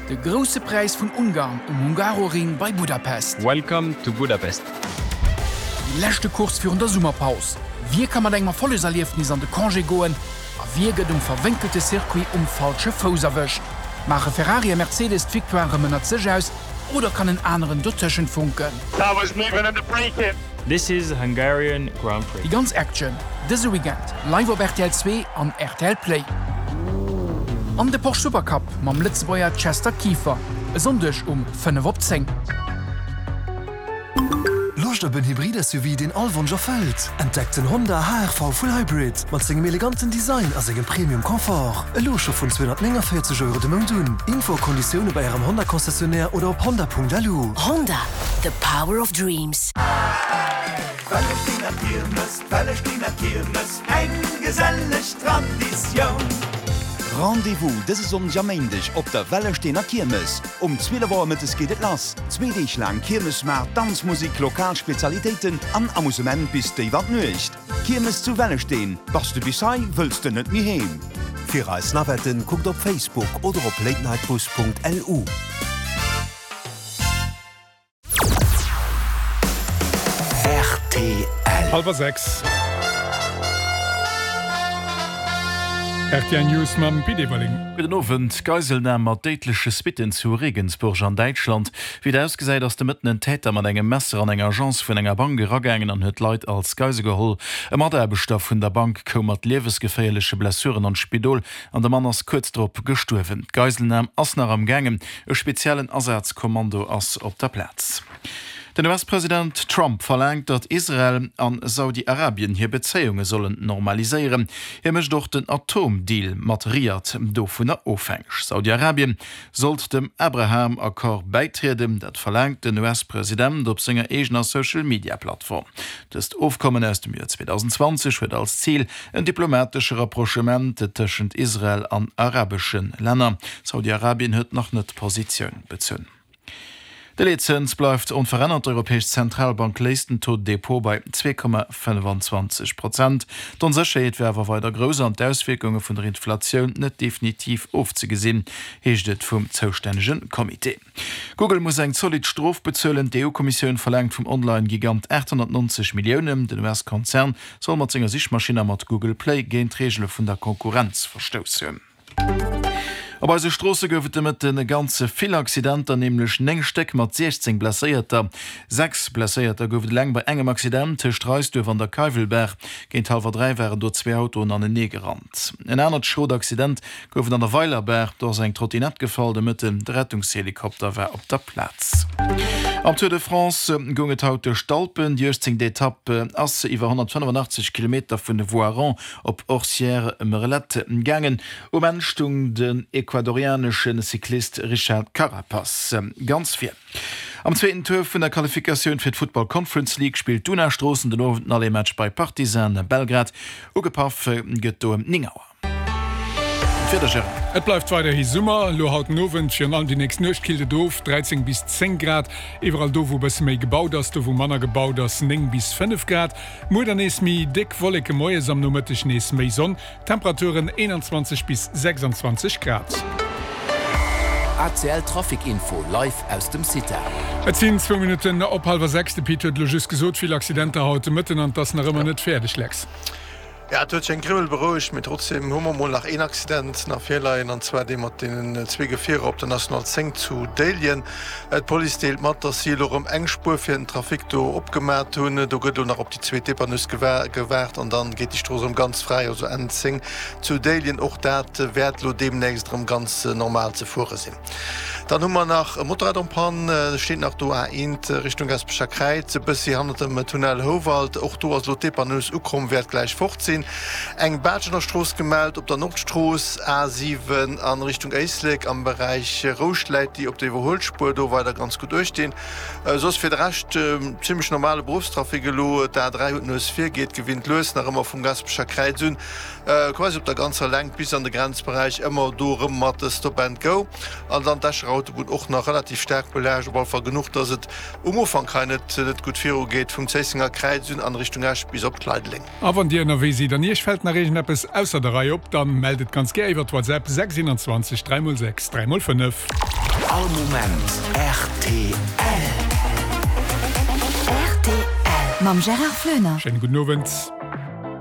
De Grousse Präis vun Ungarn um Hungaroring bei Budapest. Welcome to Budapest. Déi leschte Course virun der Summerpaus. Wie ka mat engem Erfollegserliefnis an de Congé goen a wie gëtt um verwénkelte Circuit um falsche Fouss erwëscht? Maache Ferrari a Mercedes d'Victoire erëm ënnert sech aus oder kann en aneren dotëschent funken? This is Hungarian Grand Prix. Déi ganz Action dëse Weekend live op rtl 2 an rtl Play. An de Porsche Supercup mam Lëtzebuerger Chester Kieffer e Sonndeg um 5 op 10. Loscht op en Hybrid-SUV, deen all Wonsch erfëllt? Entdeckt den Honda HR-V Full Hybrid mat sengem eleganten Design a sengem Premium Confort. Elo scho vun 249 Euro de Mount un. Info a Konditioune bei Ärem Honda-Concessionnaire oder op honda.lu. Honda, the power of dreams. Wellestener Kiermes, Wellestener Kiermes, eng geselleg Traditioun. Rendez-vous dëse Sonndeg a Méindeg op der Wellestener Kiermes. Um 12 Auer mëttes geet et lass. Zwee Deeg laang Kiermesmaart, Danzmusik, lokal Spezialitéiten an Amusement bis déif an d'Nuecht. Kiermes zu Wellesteen, bass de bis hei, wëlls de net méi heem. Fir eis Navetten kuckt op Facebook oder op latenightbus.lu. Rtl. Hallwer 6. Rtl News mam Pit Everling. Gudden Owend. Geiselnam mat déidleche Suitten zu Regensburg an Däitschland. Wéi et ausgesäit, ass de Mëtten en Täter mat engem Messer an eng Agence vun enger Bank eragaangen an huet Leit als Geisel geholl. E Mataarbechter vun der Bank koum mat liewesgeféierleche Blessuren an d'Spidol an de Mann ass kuerz drop gestuerwen. D'Geiselnam ass nach am gaangen. E speziellen Asazkommando ass op der Plaz. Den US-President Trump verlaangt, datt Israel an Saudi-Arabien hir Bezéiunge sollen normaliséieren. Hie mécht och den Atom-Deal mat Riad dovunner ofhängeg. Saudi-Arabien sollt dem Abraham-Accord bäitrieden, dat verlaangt den US-President op senger eegener Social-Media-Plattform. Dëst Ofkommen aus dem Joer 2020 huet als Zil en diplomatesche Rapprochement tëschent Israel an arabesche Länner. Saudi-Arabien huet nach net Positioun bezunn. De Leetzëns bleift onverännert, D'Europäesch Zentralbank léisst den Taux de dépôt bei 2,25 Prozent. D'Onsécherheet wär awer weider grouss an d'Auswierkunge vun der Inflatioun net definitiv ofzegesinn, heescht et vum zoustännege Comité. Google muss eng zolidd Strof bezuelen. D'EU-Kommissioun verlaangt vum Online-Gigant 890 Milliounen. Den US-Konzern soll mat senger Sichmaschinn a mat Google Play géint d'Reegele vun der Konkurrenz verstouss hunn. Op eise Stroosse gouf et de Mëtten e ganze vill Accidenter, nämlech 9 Stéck mat 16 Blesséierter. 6 Blesséierter gouf et eleng bei engem Accident tëscht Reisduerf an der Keiwelbaach. Géint hallwer 3 waren do zwee Autoen anenee gerannt. En anert schrot Accident gouf et an der Weilerbaach, do ass eng Trottinett gefall de Mëtten. De Rettungshelikopter war op der Plaz. Am Tour de France goung et haut duerch d'Alpen. Déi 18. Etapp ass iwwer 185 Kilometer vun Voiron op Orcières-Merlette gaangen. Um Enn stung den ecuadorianesche Cyclist Richard Carapaz ganz vir. Am zweeten Tour vun der Qualifikatioun fir d'Football Conference League spillt d'Una Stroossen den Owend den Aller-Match bei Partizan Belgrad. Ugepaff gëtt do ëm 9 Auer. D'Wieder, Gérard. Et bleift weiderhi Summer, elo haut den Owend, virun allem déi nächst Nuecht killt et of, 13 bis 10 Grad. Iwwerall do wou e bësse méi gebaut ass, do wou manner gebaut ass, 9 bis 5 Grad. Muer dann nees méi déck Wolleke moies, am Nomëtteg nees méi Sonn. Temperaturen 21 bis 26 Grad. ACL Trafic Info live aus dem CITA. Et sinn zwou Minutten op hallwer 6. De Pit huet elo just gesot, vill Accidenter haut de Mëtten an et ass nach ëmmer net fäerdeg, Lex. Jo, et huet sech eng Grimmel berouegt, mee trotzdeem hu mer mol nach een Accident nach virleien, an zwar dee mat deenen zwee Gefierer op der National 10 zu Déiljen. D'Police deelt mat, dass si elo erëm eng Spuer fir den Trafic do opgemat hunn. Do gëtt elo nach op déi zweet Depannus gewaart an dann geet déi Strooss erëm ganz fräi, also N10 zu Déiljen. Och dat wäert elo deemnächst erëm ganz normal ze fuere sinn. Dann hu mer nach e Motorrad en panne, steet nach do A1 Richtung Gaspecher Kräiz, e bëssi hannert dem Tunnel Houwald. Och do ass elo d'Depannus ukomm, wäert gläich fort sinn. Eng Baatschener Strooss gemellt op der Nordstrooss A7 a Richtung Éislek am Beräich Rouscht läit déi op der Iwwerhuelspuer do weider ganz gutt uechtinn. Soss fir de Rescht zimmlech normale Beruffstrafic elo. D'A3 huet Nues vir, geet gewinnt lues nach ëmmer vum Gaspecher Kräiz un. Quasi op der ganzer Längt bis an de Grenzberäich, ëmmer do erëm mat Stop and Go. An dann d'Escher Autobunn och nach relativ staark belaascht, op alle Fall genuch, dass et um Ufank hei net net gutt viru geet, vum Zéissenger Kräiz un an Richtung Esch bis op Leideleng. A wann Dir ënnerwee sidd an Iech fält nach iergendeppes ausser der Rei op, dann mellt et ganz gär iwwert WhatsApp 6 21 3 x 6 3 x 5. All Moment rtl. Rtl mam Gérard Flöner. Schéine gudden Owend.